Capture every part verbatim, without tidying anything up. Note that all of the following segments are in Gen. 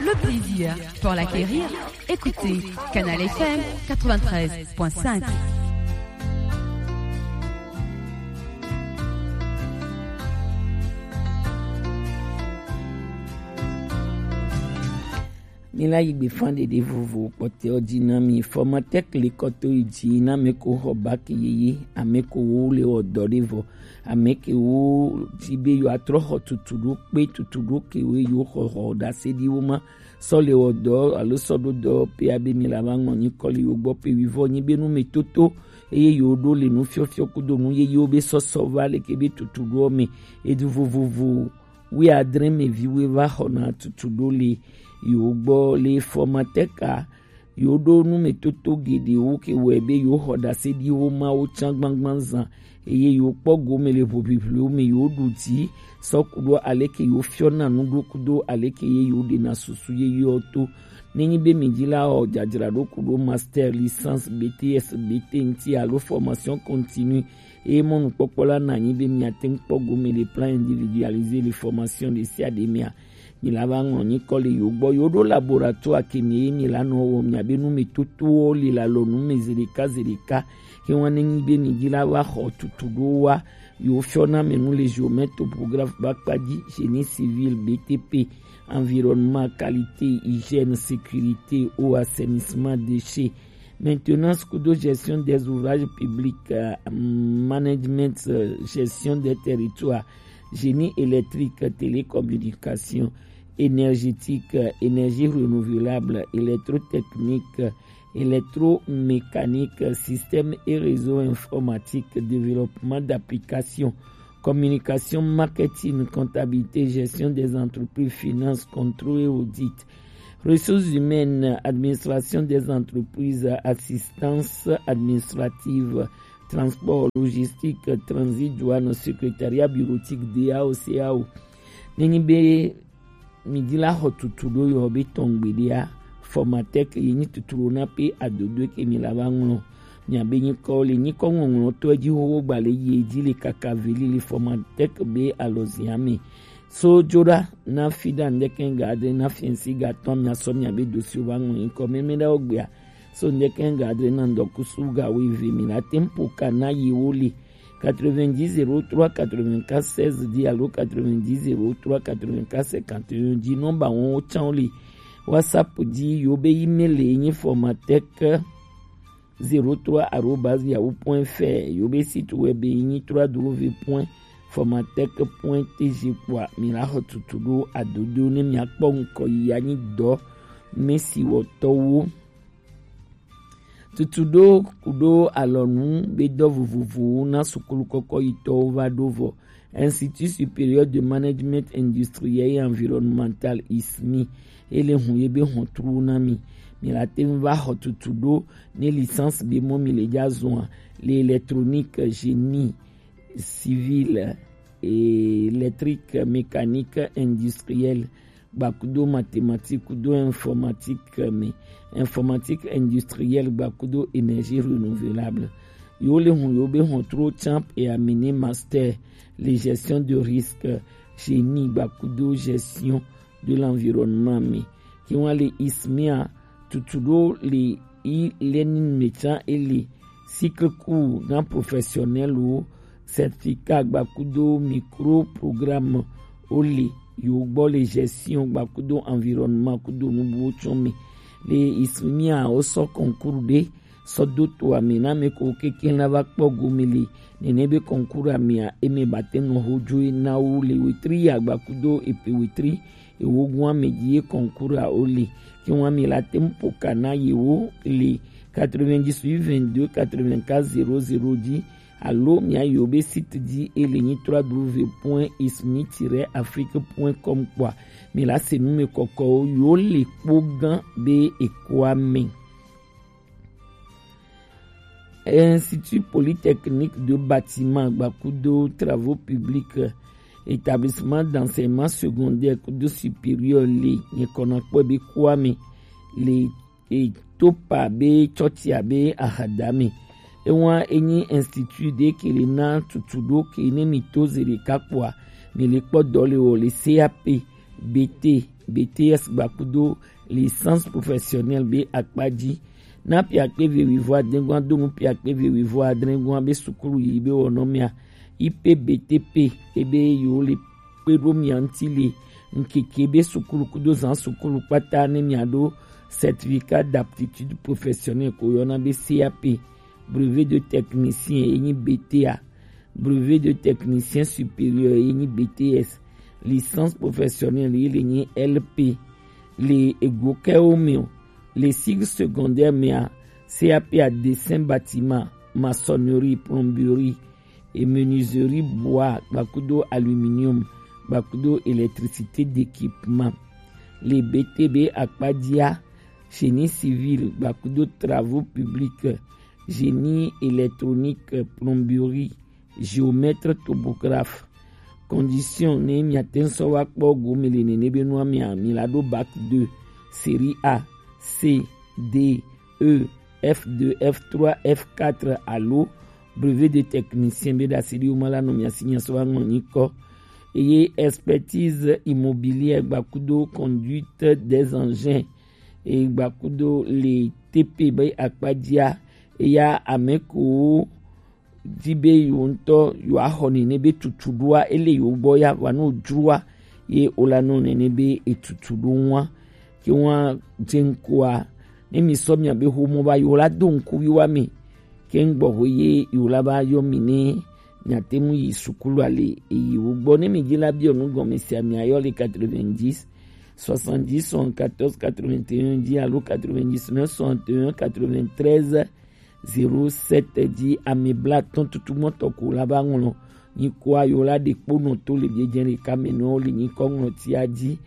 Le plaisir pour l'acquérir, écoutez Canal F M quatre-vingt-treize point cinq. Mi la yi gbe fan ɖeɖe vovo kpɔtɛ ɔ ji na mi. Formatec le kɔto yi ji na mɛ ko xɔ bac yeye, amɛ ko wo le wɔ dɔ ɖe vɔ, amɛ ke wo ji be yo atrɔ xɔ tutu ɖo kpe tutu ɖo ke wo yo xɔ xɔ ɖase ɖi wo ma sɔ le wɔ dɔ alo sɔ ɖo dɔ pe abe mi la va ŋlɔ nyi kɔ le yo gbɔ pe wi vɔ nyi be nu me toto eye yo ɖo le nu fiɔfiɔ kudo nu yeye wo be sɔsɔ va le ke be tutu ɖo me edu vovovo wi adre me vi we va xɔ na tutu ɖo le yo gbɔ le Formatec a. Yo ɖo nu me toto geɖewo ke wɔe be yo xɔ ɖase ɖi wo mawo can gbangban zan eye yo kpɔ gome le ʋuʋiʋliwo me yo ɖu dzi sɔ ku ɖo aleke yo fiɔna nu ɖo kudo aleke ye yo ɖena susu ye yo to. Nenyi be mi dzi la wɔ dzadzraɖo ku ɖo master, licence, B T S, B T ŋti alo formation continue eye mɔnukpɔkpɔ la na anyi be miate ŋu kpɔ gome le plan individualisé le formation ɖe sia ɖe mea, mi la va ŋlɔ nyikɔ le yo gbɔ. Yo ɖo laboratoire ke mi ye mi la nɔ wɔ mia be nu me totowo le la lɔ nu me zeɖeka zeɖeka. Ke wa ne nyi be mi dzi la va xɔ tutu ɖo wa yo fiɔ na me nu le géomètre, topographe, ba kpa dzi, génie civil, B T P, environnement, qualité, hygiène, sécurité, eau, assainissement, déchets, maintenance kudo gestion des ouvrages publics, euh, management, euh, gestion des territoires, génie électrique, télécommunication, énergétique, euh, énergie renouvelable, électrotechnique, euh, électromécanique, euh, système et réseau informatique, développement d'applications, communication, marketing, comptabilité, gestion des entreprises, finances, contrôle et audit, ressources humaines, administration des entreprises, assistance administrative, transport, logistique, transit, douane, secrétariat bureautique, D A O, C A O. Nenyi be mi di la xɔ tutu ɖo yɔ be tɔngbe ɖea, Formatec ye nyi tutu ɖo na pe adodo ke mi la va ŋlɔ. Mia be nyikɔ le nyikɔ ŋɔŋlɔ to edzi xoxo gba le yi edzi le kaka veli le Formatec be alɔzia me. So dzo ɖa na fi ɖa ŋdɛkɛ ga adre na fiɛnsi ga tɔn mia sɔ mia be dosi wo va ŋlɔ nyikɔ mɛmɛ ɖa wo gbea. So ŋdɛkɛ ga adre na ŋdɔkusu ga wo eve mi la tempo ka na yi wo le quatre-vingt-dix zéro trois quatre-vingt-quatre seize dix alo quatre-vingt-dix zéro trois quatre-vingt-quatre cinquante et un dix nɔmba wɔn wo can wo le. WhatsApp dzi yo be email le nyi Formatec zéro trois arobase yahoo point F R, yo be site web nyi trois W point formatec point T G kpɔa mi la xɔ tutu ɖo adodo ne mia kpɔ ŋkɔ yi anyi dɔ mesi wɔtɔwo. Tutu ɖo kuɖo alɔnu be dɔ vovovowo na sukulu kɔkɔ yitɔwo va ɖo vɔ. Institut Supérieur de Management Industriel et Environnemental, I S M I, ele hun ye be hɔntru na mi. Mi la te ŋu va xɔ tutu ɖo ne licence be mɔ mi le dza zɔa le électronique, génie civil, électrique, mécanique, industriel, gbakudo mathématique kudo informatique me, informatique industrielle gbakudo énergie renouvelable. Yo le hun yo be hɔntru can et amener master le gestion de risque, génie gbakudo gestion de l'environnement me. Ki wa le I S M I a tutu ɖo le e-learning me can ele cycle court na professionnel wo, certificat gbakudo micro programme wo le yo gbɔ le gestion gbakudo environnement kudo nubuwo tsɔ me. Le I S M I a wo sɔ concours ɖe sɔ do to ame na ame ko keke na va kpɔ gome le nene be concours amea eme ba te nɔ ho dzoe na wo le wetri ya gbakudo epe wetri ewo gun ame dzi ye concours a wo le. Ke wa mi la te ŋu po ka na ye wo le quatre-vingt-dix-huit vingt-deux quatre-vingt-quatre zéro zéro dzi alo mia yi wo be site dzi ele nyi trois W point ismi tiret afrique point com kpɔa mi la se nu me kɔkɔwo yo le kpo gan be ekoa me. Institut Polytechnique de Bâtiment gbakudo Travaux Publics, Établissement d'Enseignement Secondaire kudo Supérieur le nyikɔna kpɔ be Kwame le e, Topa be Tsɔtsia be Ahadame. Ewa enyi institut de ke le na tutu ɖo ke ne mi to ze ɖeka kpɔa mi le kpɔ dɔ le wɔ le C A P, B T, B T S gbakudo licence professionnelle be akpaji. Na piakpe ve wivo adengua donu piakpe ve wivo adrengua be sukulu yi be wɔnɔ mia, I P B T P ebe yo le kpe ɖo mia ŋuti le ŋkeke be sukulu kudo zan sukulu kpata ne mia ɖo certificat d'aptitude professionnelle ko yɔna be C A P, brevet de technicien ye nyi B T A, brevet de technicien supérieur ye nyi B T S, licence professionnelle ye le nyi L P. Le ego kɛwo mɛ o, le cycle secondaire mɛa, C A P a dessin bâtiment, maçonnerie, plomberie, et menuiserie bois gbakudo aluminium gbakudo électricité d'équipement. Le B T B akpajia, génie civil gbakudo travaux publics, génie électronique, plomberie, géomètre topographe. Condition ne miate ŋu sɔ wa kpɔ gome le nene be nua mia, mi la ɖo bac deux, série A, C, D, E, F deux, F trois, F quatre alo brevet de technicien be ɖasi ɖi woma la nɔ mia si mia sɔ wa ŋlɔ nyikɔ. Eye expertise immobilière gbakudo conduite des engins e gbakudo le T P be akpajia, eya ame ko di be yewo ŋutɔ yewoaxɔ nene be tutuɖoa ele yewo gbɔ ya vɔa ne wodroa ye wola nɔ nene be etutu ɖo ŋua. Ke ŋua dze ŋkua ne mi sɔ mia be xomɔ va yewo la do ŋku wiwa mi ke ŋgbɔ ho ye yewo la va yɔ mi ne miate ŋu yi sukulu ale eyi wo gbɔ ne mi dzi la biɔ nu gɔme sia mia yɔ le quatre-vingt-dix soixante-dix soixante-quatorze quatre-vingt-un dzi alo quatre-vingt-dix-neuf soixante-un quatre-vingt-treize zéro sept dzi ame blaatɔ̃ tutu mɔtɔ ko la va ŋlɔ nyikɔa yewo la ɖe kponɔ to le biedzẽ ɖeka me nɔ le nyikɔ ŋlɔtia dzi.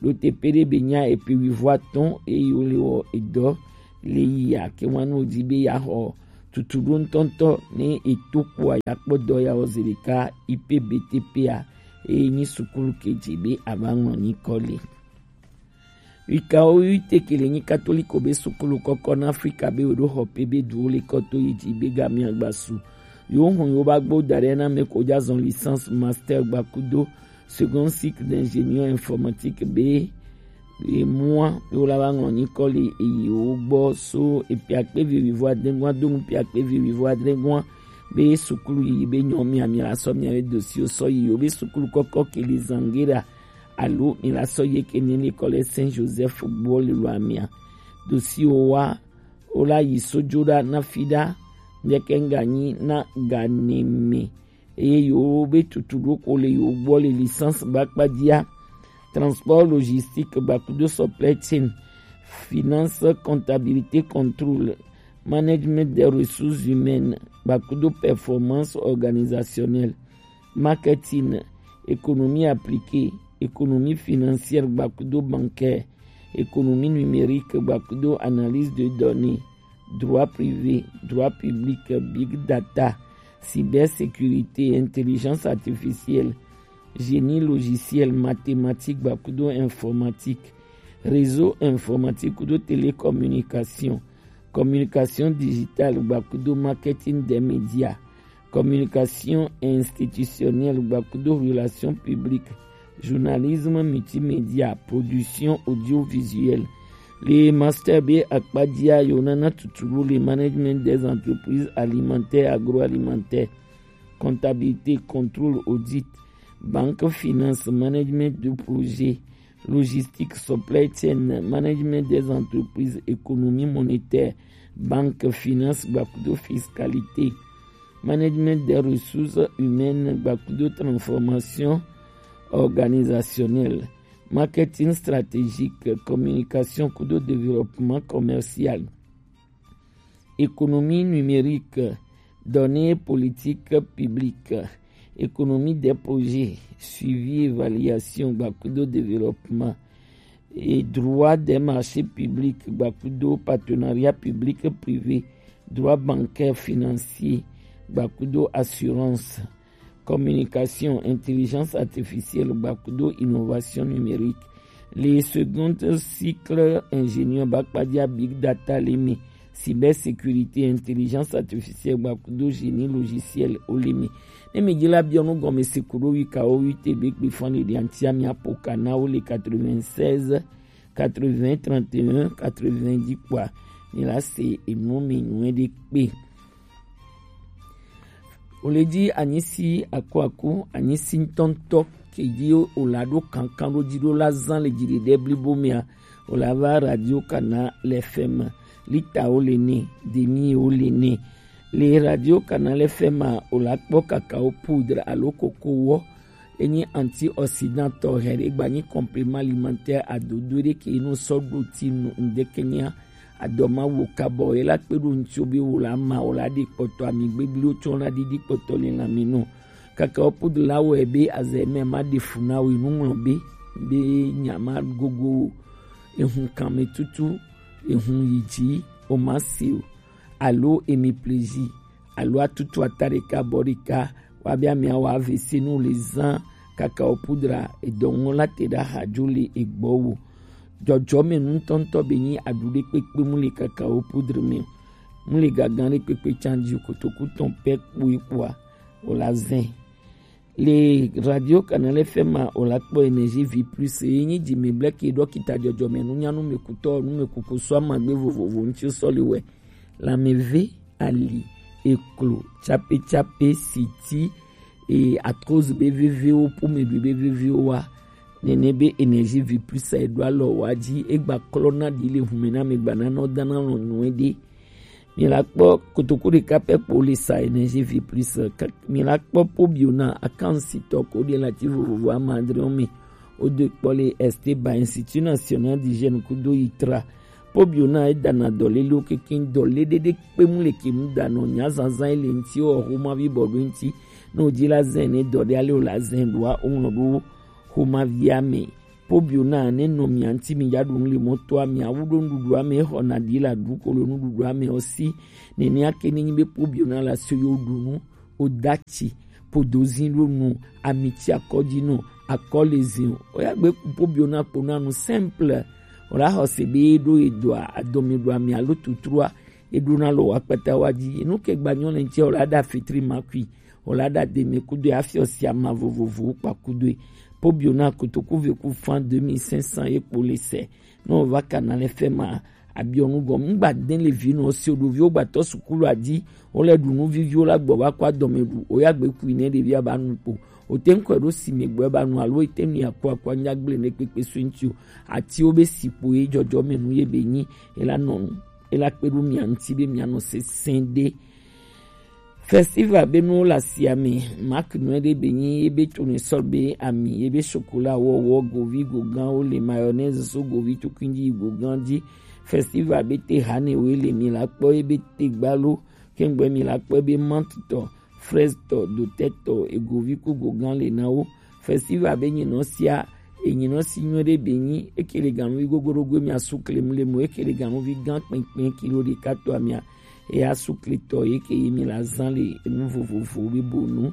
Ɖo te pe ɖe be nya epe wivo atɔ̃ eye wole wɔ edɔ le yia ke ŋua ne wodi be yaxɔ tutu ɖo ŋutɔŋutɔ ne eto kpoa yakpɔ dɔ ya wɔ zi ɖeka I P B T P a eye nyi sukulu ke dzi be ava ŋlɔ nyikɔ le. Wikawo wi te ke le nyi katoliko be sukulu kɔkɔ na Afrika be wo ɖo xɔ pe be duwo le kɔ to yi dzi be gamia gbasu. Yo hɔn yo ba gbo da ɖe na me ko ja zɔn licence, master gbakudo second cycle d'ingénieur informatique be emua be wo la va ŋlɔ nyikɔ le eyi wo gbɔ so epia kpe vi wivo adegua do nu pia kpe vi wivo adegua be sukulu yi be nyɔ mia mi la sɔ mia be dosi wo sɔ yi wo be sukulu kɔkɔ ke le Zangera alo mi la sɔ yi ke ne le kɔ le Saint Joseph gbɔ le lo amia dosi wo wa wo la yi sojo ɖa na fi ɖa ŋdeke ŋganyi na ganeme. Eye yewo be tutu ɖo ko le yewo gbɔ le licence ba kpa dzia. Transport logistique gbakudo supply chain, finance, comptabilité, contrôle, management des ressources humaines gbakudo performance organisationnelle, marketing, économie appliquée, économie financière gbakudo bancaire, économie numérique gbakudo analyse de données, droit privé, droit public, big data, cybersécurité, intelligence artificielle, génie logiciel, mathématiques gbakudo informatique, réseau informatique kudo télécommunication, communication digitale gbakudo marketing des médias, communication institutionnelle gbakudo relations publiques, journalisme multimédia, production audiovisuelle. Le master be akpa dzia yewo nana tutulu le management des entreprises alimentaires, agroalimentaires, comptabilité, contrôle, audit, banque, finance, management de projet, logistique, supply chain, management des entreprises, économie monétaire, banque, finance gbakudo fiscalité, management des ressources humaines gbakudo transformation organisationnelle, marketing stratégique, communication kudo développement commercial, économie numérique, données politiques publiques, économie des projets, suivi, évaluation gbakudo développement, et droit des marchés publics gbakudo partenariat public privé, droit bancaire financier gbakudo assurance, communication, intelligence artificielle gbakudo innovation numérique. Le second cycle ingénieur ba kpa dzia big data le mi cybersécurité, intelligence artificielle, gbakudo génie logiciel, oleme. Ne mi dila bionu gome sekudo wika o wite be gbe fan le diantia mi apoka na o le quatre-vingt-seize, quatre-vingts, trente et un, quatre-vingt-dix kwa. Ni la se enu mi nue de pe. O le di anyisi akuaku, anyisi ŋutɔŋutɔ ke di o la ɖo kankan ɖo di ɖo la zan le dziɖeɖe blibo mea, o la va Radio Canal F M, lita o le ne, demi o le ne. Le Radio Canal F M a, o la kpɔ cacao poudre alo koko wɔ. Enyi antioxydant tɔ hɛ ɖe gba nyi complément alimentaire adodo ɖe ke no sɔ ɖo ti nu ŋdeke nya adɔma wo kabɔ ye la kpe ɖo ŋtsi be wo la ma wo la ɖe kpɔtɔ ami gbegbliwo tsɔ la ɖiɖi kpɔtɔ le lãme nɔ. Cacao poudre la wɔ be azɛ mɛ ma ɖe fu na wo nu ŋlɔ be be nya ma gogo wo. Ehun kanme tutu, ehun yi dzi, o ma se o. Alo emi plaisir, alo atutu ata ɖeka bɔ ɖeka, wa be amia wa A V C nu le zan cacao poudre edɔŋɔ la te ɖa hadzo le egbɔ wo. Jɔjɔme nutɔntɔ be nyi aɖu ɖe kpekpe mu le cacao poudre me o. Mu le gagan ɖe kpekpe can dzi o, kotoku tɔn pɛ kpoe kpoa, o la zɛn. Le Radio Canal F M a, o la kpɔ Énergie Vie Plus, ye nyi dzi me blɛ ke ɖɔkita jɔjɔme nunyanu me kutɔ nu me kuku sɔ amagbe vovovo ŋtsi sɔ le wɛ. Lãmeve, ali, eklo, tsapetsape, siti, e, arthrose be veviwo, pommeɖui be veviwo wa. Nene be Énergie Vie Plus a eɖo alɔ wa dzi, egba klɔ na ɖi le hume na me gba na nɔ dana lɔ nyuie ɖe. Mi la kpɔ kotoku ɖeka pɛ kpo le sa Énergie Vie Plus, ka-, mi la kpɔ Pobiona akansitɔ ko ɖe lati vovovo ama adre me. O do kpɔ le Esteba Institut National d'Hygiène kudo itra. Pobiona e dana dɔ lele o keke dɔ le ɖe ɖe kpe mu le ke mu da nɔ nya zanzan le ŋti o xoma vi bɔ ɖo ŋti. No di la zɛn ne dɔ ɖe ale o la zɛn ɖoa o ŋlɔ ɖo xoma via me. Pobiona ne nɔ mia ŋti mi ya ɖu nu le mɔtoa mia wu ɖo nuɖuɖua me xɔ na ɖi la ɖu kolo nuɖuɖua me o si. Nenea ke ne nyi be Pobiona la so yo ɖu nu o datsi podozi ɖo nu, amitsi akɔdzi nu, akɔ le zi o. O ya gbe ku Pobiona kpo na nu simple. O la xɔ se be ɖo edoa adɔme ɖo ami alo tutrua eɖo na lo wa kpata wa dzi. Enu ke gba nyɔ le ŋti o la ɖa fitri makui. O la ɖa deme kudo afiɔ si ama vovovo kpa kudo. Pobiona kotoku ve ku fan deux mille cinq cents ye kpo le se. Ne o va Canal F M a, abiɔ nu gɔme. Ŋgba de le vi nɔ se o ɖo vi o gba tɔ sukulu a dzi. O le ɖu nu viviwo la gbɔ va kɔ adɔme ɖu. O ya gbe kui ne ɖevi a ba nu kpo. O te ŋkɔ ɖo si me gbɔ e ba nu alo e te nu ya kɔ akɔ anya gble ne kpekpe so ŋti o. Ati o be si kpo ye jɔjɔ me nu ye be nyi. E la nɔ nu. E la kpe ɖo mia ŋti be mia nɔ sesẽ ɖe. Festival be nuwo le asia me, Mark nue ɖe be nyi ebe tournesol be ami, ebe chocolat wɔwɔ, govi gogan wo le mayonnaise so govi tukui dzi gogan dzi. Festival be te hane wo le mi la kpɔ ebe te gbalo, kengbe mi la kpɔ ebe menthe tɔ, fraise tɔ, dotɛ tɔ, egovi ku gogan le na wo. Festival be nyinɔ sia, enyinɔ si nyuie ɖe be nyi eke le ganuvi gogoɖogoe mi asu klem le mo eke le ganuvi gan kpɛnkpɛn kilo ɖeka tɔ amia. Eya su kletɔ ye ke ye mi la zan le enu vovovo be bonu.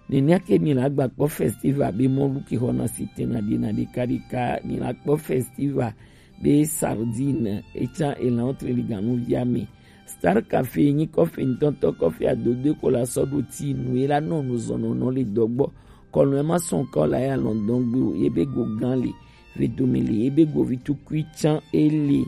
Nenea ke mi la gba kpɔ festival be mɔlu ke xɔna sitɛna ɖena ɖeka ɖeka, mi la kpɔ festival be sardine etsa elan tre le ganuvia me. Star Café nyi kɔfe ŋutɔŋutɔ, kɔfe adodoe ko la sɔ ɖo ti nu ye la nɔ nu zɔnɔnɔ le dɔgbɔ. Kɔlɔn ma sɔn kɔ la ya lɔndɔn gbe o, ye be go gan le, vedome le, ye be go vitukui tsan ele.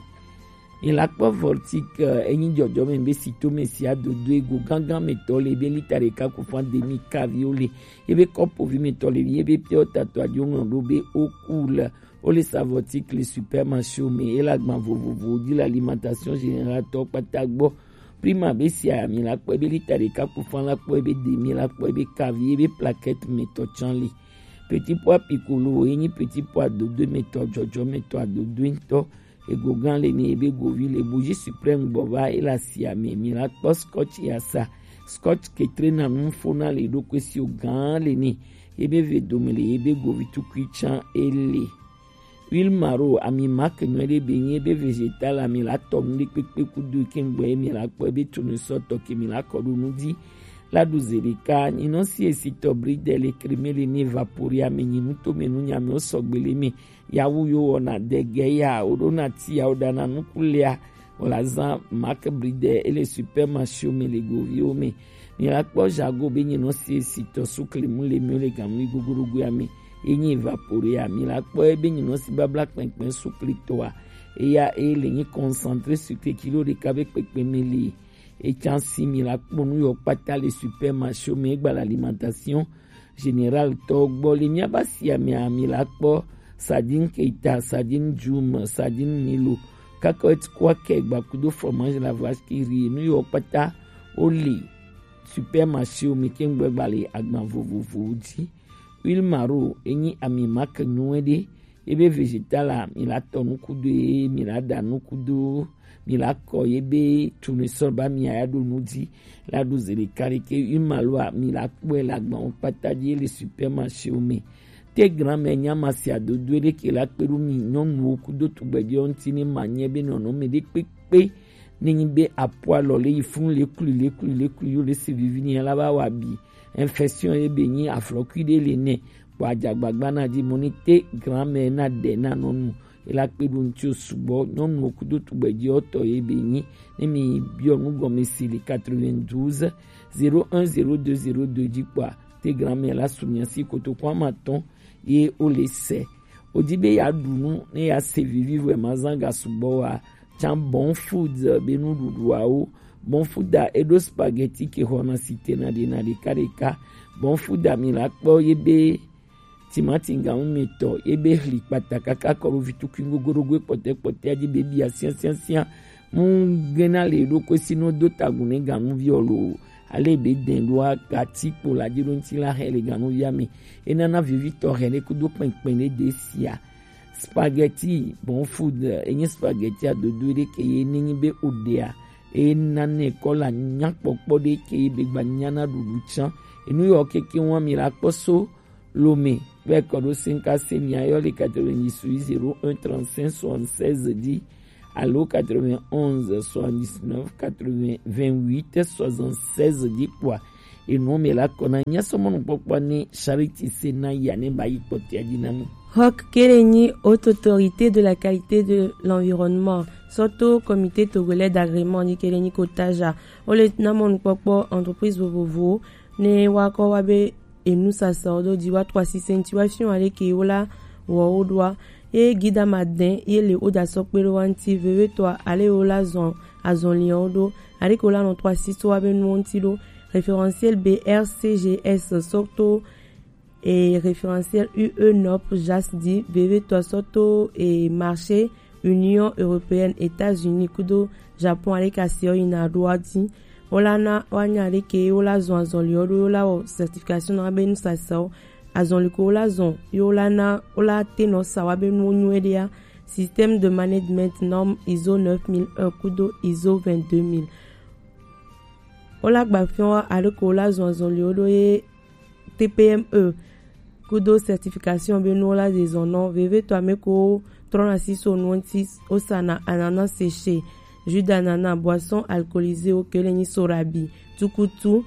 Mi la kpɔ Voltic, eh, enyi jɔjɔme be sitome sia dodo ego gangan me tɔ le be lita ɖeka ku fan demi kavi o le, ye be kɔpo vi me tɔ le, ye be pure tatɔ adio ŋlɔ ɖo be o ku le, o le sa Voltic le supermarché me, e la gban vovovo di la alimentation générale tɔ kpata gbɔ. Prima be sia mi la kpɔ be lita ɖeka ku fan la kpɔ be demi la kpɔ be kavi ye be plaquette me tɔ tsan le. Petit pois piccolo, enyi petit pois dodo me tɔ jɔjɔ me tɔ adodo ŋutɔ. Ego gan le ni ebe govi le Bougie Suprême gbɔ va e la sia me mi la kpɔ scotch ya sa. Scotch ke tre na nu fo na le ɖokui si o gan le ni. Ebe ve dome le ebe govi tukui tsan ele. Huile maro ami marque nyuie ɖe be nyi ebe végétal ami la tɔ nu ɖe kpekpe kudo ke ŋgbɔ ye mi la kpɔ ebe tournesol tɔ ke mi la kɔ ɖo nu di. La ɖu ze ɖeka, nyinɔ si esi tɔ bridel le crème le ni évaporé ame nyinu to me nu nyame o sɔgbe le me. Yawu yo wɔna dege ya, o ɖo na ti ya, o ɖana nuku lea, Wò la zan Mark Bride ele supermarché wo me le goviwo me. Mi la kpɔ Jago be nyinɔsi esitɔ sukle mu le mi le ganu yi gogodogoea me. Ye nyi Evaporea, mi la kpɔ ye be nyinɔsi babla kpɛnkpɛn sukle tɔa. Eya e le nyi concentré sukle kilo ɖeka be kpɛkpɛ me le. Etsa si mi la kpɔ nu yɔ kpata le supermarché wo me egba le alimentation générale tɔ gbɔ le miaba sia mea mi la kpɔ sardine Keita, sardine Jum, sardine Milo, kakɔt kwakɛ gbakudo fromage la vache qui rit nu yɔ kpata wo le supermarché wo me kengbe gba le agban vovovowo dzi. Huile Maro enyi ami marque nyuie ɖe. Ye be vegetal la mi la tɔ nukudo ye mi la da nukudo mi la kɔ ye be tournesol ba mi aya ɖo nu dzi la ɖo ze ɖeka ɖe ke huile Maro a mi la kpɔe le agban wo kpata dzi ye le supermarché wo me. Te grand-mère nya ma si adodo ɖe ke la kpe ɖo mi nyɔnuwo kudo tugbedzewo ŋuti ne ma nye be nɔnɔme ɖe kpekpe ne nyi be apo alɔ le yi funu le klu le klu le klu yo le se vivi ni la ba wa bi infection ye be nyi aflɔkui ɖe le nɛ kpɔ adzagbagba na dzi mo ni te grand-mère na ɖe na nɔnu ela kpe ɖo ŋuti sugbɔ nyɔnuwo kudo tugbedzewo tɔ ye be nyi ne mi biɔ nu gɔme si le quatre-vingt-douze zéro un zéro deux zéro deux dzi kpɔa te grand-mère la su mia si kotoku ama tɔn ye wo le se. Wodi be ya ɖu nu ne ya se vivi vɔ ma zan ga sugbɔ wa. Tsa Bon Food be nuɖuɖuawo. Bon Food a eɖo spaghetti ke xɔna si tena ɖe na ɖeka ɖeka. Bon Food a mi la kpɔ ye be timati gamu mi tɔ ye be hli kpata kaka kɔ ɖo vitukui gogoɖogo kpɔtɛ kpɔtɛ a dzi be bia siasiasia. Mu gena le ɖo ko si no do tagun ne gamu vi ɔlo. Ale be den ɖo a gati kpo la dzi ɖo ŋuti la hɛ le gamu via me. Enana vivitɔ hɛ ne kudo kpɛnkpɛn ne de sia. Spaghetti Bon Food enye spaghetti adodo ɖe ke ye ne nyi be o ɖea e nane kɔla nyakpɔkpɔ ɖe ke ye be gba nyana ɖuɖu tsã. Enu yɔ keke wa mi la kpɔ so lome be kɔ ɖo senka se mi ayɔ le quatre-vingt-dix-huit zéro un trente-cinq soixante-seize dzi alo quatre-vingt-onze soixante-dix-neuf quatre-vingts vingt-huit soixante-seize dzi kpɔa Enumela kɔna nyasɔmɔnukpɔkpɔ ni Charity Sena ya ne ba yi kpɔtia dzi na mi. Rock Kelenyi, haute autorité de la qualité de l'environnement, surtout comité togolais d'agrément ni Kelenyi Kotaja. Ole na mɔnukpɔkpɔ entreprise vovovo ne wa kɔ wa be enu sasa o do di wa trois six centi wa fion ale ke wola wo o do a. Ye gida ma den ye le o da sɔ kpe do wa nti veve to a ale wola zɔn azɔn li o do. Ale ke wola nɔ trois six wa be nu nti do. Référentiel B R C G S sɔ to e référentiel U E nop jas di veve to sɔ to e marché Union Européenne États-Unis kudo Japon ale ka se o yina do a di. Wola na wa nya ale ke wola zɔn azɔn li o do wola wɔ certification na be nu sasa o. Azɔn li ko wola zɔn ye wola na wola te nɔ sa wa be nu nyu e de a. Système de management norme ISO neuf mille un kudo ISO vingt-deux mille. Wola gba fiɔn wa ale ko wola zɔn azɔn li o do ye T P M E kudo certification be nu wola ze zɔn nɔ veve to ame ko trɔna si so nu nti o sa na ananas séché, jus d'ananas, boisson alcoolisée o kele nyi sorabi, tukutu,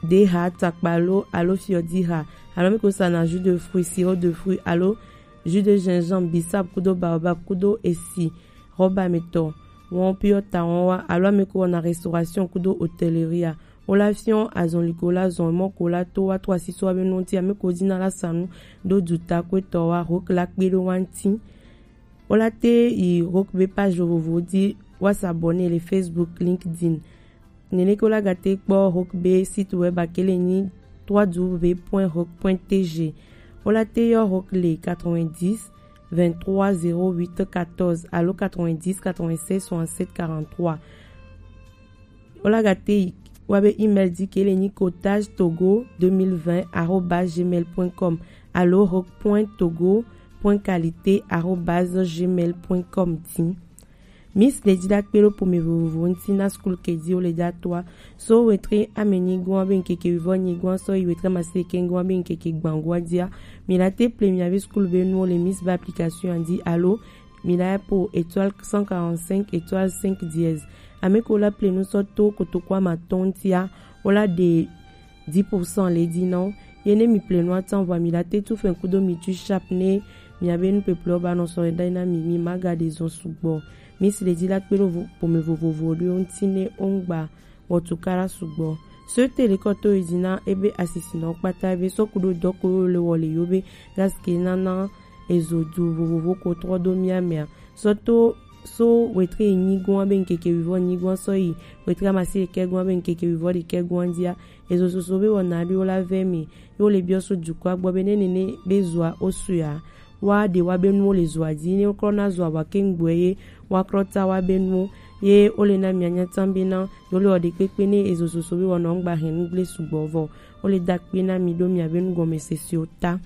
deha, takpalo alo fiɔdiha, alo ame ko sa na jus de fruit, sirop de fruit alo jus de gingembre, bissap kudo baobab kudo esi, rɔba me tɔ, wɔn piɔ ta wɔn wa, alo ame ko wɔna restauration kudo hôtellerie a. Wola fiɔn azɔn li ko la zɔn mɔ ko la to wa to asiso wa be nɔnti ame ko dina la sanu do duta ko etɔ wa Rock la kpe do wa nti. Wola te yi Rock be page vovovo di wa s'abonner le Facebook, LinkedIn. Nene ke wola gate kpɔ Rock be site web akele nyi trois W point rock point T G. Wola te yɔ Rock le quatre-vingt-dix vingt-trois zéro huit quatorze alo quatre-vingt-dix quatre-vingt-seize soixante-sept quarante-trois. Wola gate yi wa be email di ke le nyi kotage togo deux mille vingt arobase gmail point com alo rock point togo point qualité arobase gmail point com di. Miss Lady da kpe ɖo pome vovovo ŋuti na skul ke di wo le da toa. So wetre ame nyigoa be ŋkeke wivɔ nyigoa sɔ yi wetre amasieke ŋgoa be ŋkeke gbangoa dia. Mi la te ple miavi skul be nuwo le Miss ba application a di alo mi la po étoile cent quarante-cinq étoile cinq dièse. Ame ko la ple nu sɔ to kotoko amatɔn ŋutia, wo la ɖe dix pour cent le di na wo. Ye ne mi ple nua tan vɔa mi la te tu fɛn kudo mi tu sharp ne Miabe nupeple wo ba nɔ sɔ ɖe na mi, mi ma ga ɖe zɔn sugbɔ. Mi si le ji la kpe ɖo vo-, ƒome vovovo ɖewo ŋuti ne wo ŋgba wɔtukala sugbɔ. So te le kɔ to yi dzi na ebe asisinɔ kpata ebe sɔ ku ɖo dɔ ko le wɔ le yo be gaske nana ezo du vovovo ko trɔ do mia mea. Sɔ to so wetre enyi gɔn be ŋkeke wivɔ nyi gɔn sɔ yi wetre amasi ɖekɛ gɔn be ŋkeke wivɔ ɖekɛ gɔn dzia. Ezo soso be wɔna ɖo la vɛ mi. Yo le biɔ so dukɔa gbɔ be ne nene be zoa o suya. Wa ɖe wa be nuwo le zoa dzi, ne woklɔ na zoa wa ke ŋgbɔe ye, wa klɔ ta wa be nuwo, ye wo le na mia nya tam be na, yo le ɔ ɖe kpekpe ne ezo soso be wɔna ŋgba hɛn ŋgble sugbɔ vɔ, wo le da kpe na mi ɖo mia be nugɔmesese o ta.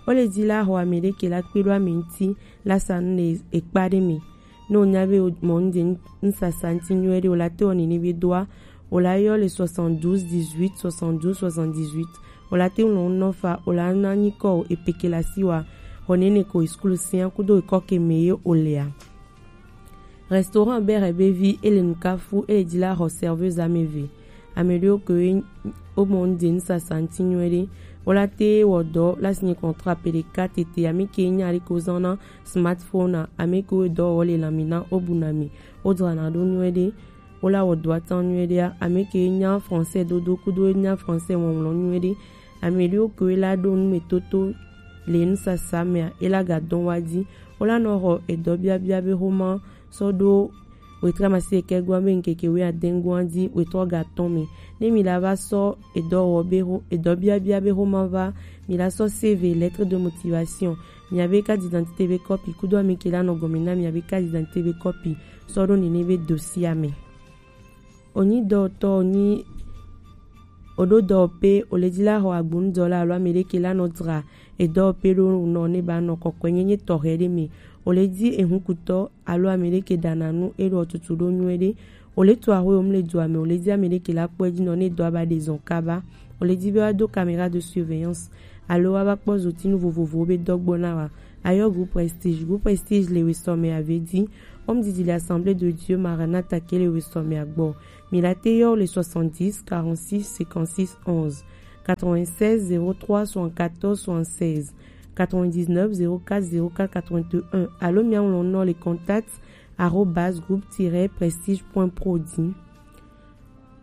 Wo le dzi la xɔ ame ɖe ke la kpe ɖo ame ŋuti, la sa nu le ekpa ɖe mi. Ne wonya be mɔ ŋde ŋsasa ŋti nyuie ɖe, wo la te wɔ nene be doa, wo la yɔ le soixante-douze dix-huit, soixante-douze soixante-dix-huit. Wo la te ŋlɔ nɔ fa, wo la na nyikɔ o epeke la si wa. Xɔ nene ko eskul sia kudo ekɔ ke me ye o lea. Restaurant bere be vi ele nukafu ele dzi la xɔ serveuse ame ve. Ame ɖewo ke wo mɔ ŋde ŋsasa ŋti nyuie ɖe. Wo la te wɔ dɔ la si nye contrat pe ɖeka tete ame ke nya ɖe ko zan na smartphone a, ame ke wo dɔ wɔ le lami na wo bu na mi. Wo dzra na ɖo nyuie ɖe. Wo la wɔ dɔa tɔn nyuie ɖea, ame ke nya français dodo kudo nya français ŋɔŋlɔ nyuie ɖe. Ame ɖewo ke la ɖo nu me toto le nusasa mea, e la ga dɔn wa dzi. Wo la nɔ xɔ edɔ biabia be xoma sɔ ɖo wetre amasi ɖekɛ gɔa be ŋkeke wui ade gɔa dzi wetrɔ ga tɔn me. Ne mi la va sɔ edɔ wɔ be xo-, edɔ biabia be xoma va, mi la sɔ C V, lettre de motivation, miabe carte d'identité be kɔpi kudo ame ke la nɔ gɔme na miabe carte d'identité be kɔpi sɔ ɖo nene be dossier me. Onyi dɔwɔtɔ, onyi oɖo dɔwɔƒe, ole dzi la xɔ agbonudɔla alo ame ɖe ke la nɔ dzra edɔwɔƒe ɖo nɔ ne ba nɔ kɔkɔe nyenye tɔxɛ ɖe me. Ole dzi ehunkutɔ alo ame ɖe ke ɖana nu eɖo tutu ɖo nyuie ɖe. Ole tu axwe omle dua me, ole dzi ame ɖe ke la kpɔe dzi nɔ ne dɔa ba ɖe zɔn kaba. Ole dzi be wa do caméra de surveillance alo wa ba kpɔ zotinu vovovowo be dɔgbɔ na wa. Ayɔ groupe Prestige. Groupe Prestige le wesɔ me ave dzi. Home didi le Assemblée de Dieu Maranatha ke le wesɔ me agbɔ. Mi la te yɔ le soixante-dix quarante-six cinquante-six onze, quatre-vingt-seize zéro trois soixante-quatorze soixante-seize, quatre-vingt-dix-neuf zéro quatre zéro quatre quatre-vingt-un alo mia ŋlɔ nɔ le contact arobase groupe tiret prestige point pro dzi.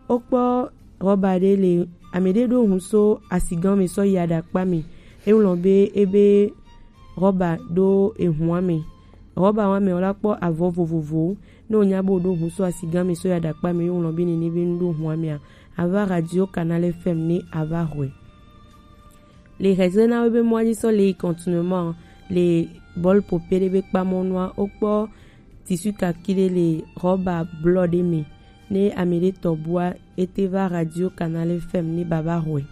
Wokpɔ rɔba ɖe le ame ɖe ɖo hun so asigan me sɔ yi aɖakpa me. Eŋlɔ be ebe rɔba ɖo ehua me. Rɔba wa me wo la kpɔ avɔ vovovowo. Ne wonya be woɖo hun so asigan me sɔ yi aɖakpa me, eŋlɔ be nene be nu ɖo hua mea, ava Radio Canal F M ne ava xɔe. Le hezena wo be mɔa dzi sɔ le yi continuellement le bɔl pope ɖe be kpamɔnua wokpɔ tissu kaki ɖe le rɔba blɔ ɖe me. Ne ame ɖe tɔ bua, ete va Radio Canal F M ne baba xɔe.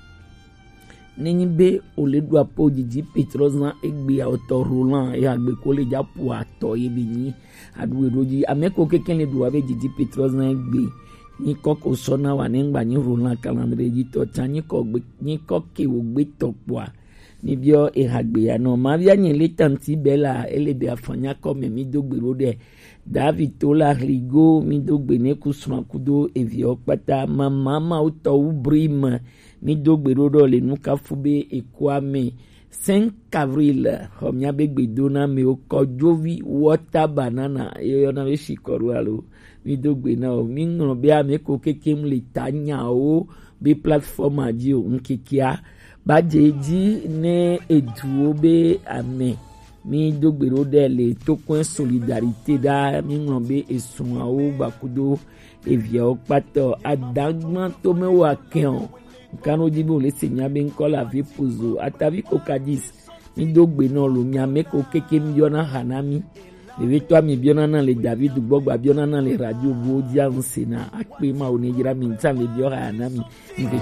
Nenyi be ole ɖu apo didi Petro zan egbe awotɔ Roland ya gbe ko le dza po atɔ ye be nyi aɖu eɖo dzi ame ko keke le ɖu abe didi Petro zan egbe nyi kɔ ko sɔ na wa ne ŋgba nyi Roland Calendrier dzi tɔ tsa nyi kɔ gbe nyi kɔ ke wo gbe tɔ kpɔa. Mi biɔ eha gbe ya nɔ ma bia nye le tanti bela ele be afanya kɔ me mi do gbe ɖo ɖe. David Tola Rigo, mi do gbe ne ku srɔ̃a kudo eviawo kpata. Mama Mawutɔwu Brim, mi do gbe ɖo ɖɔ le nukafu be ekua me. Cinq avril, xɔ mia be gbedo na mewo kɔdzovi water banana, ye yɔna be shikɔɖo alo. Mi do gbe na o. Mi ŋlɔ be ame ko kekem le ta nyawo be plateforme dzi o. Ŋkekea ba dze edzi ne eduwo be ame Mi do gbe ɖo ɖe le tokɔe solidarité ɖa. Mi ŋlɔ be esrɔ̃awo gbakudo eviawo kpatɔ adagba to me wa kɛn o. Nkan ɖo dzi be wòle se mia be ŋkɔ le avi pozo atavi kokadis. Mi do gbe nɔ lo mia me ko keke mi yɔna ha na mi. Ɖevi tɔ mi biɔna na le David gbɔ gba biɔna na le radio bo dzi a ŋse na akpe ma wo ne dzra mi ŋtsa le biɔ ha na mi. Mi keke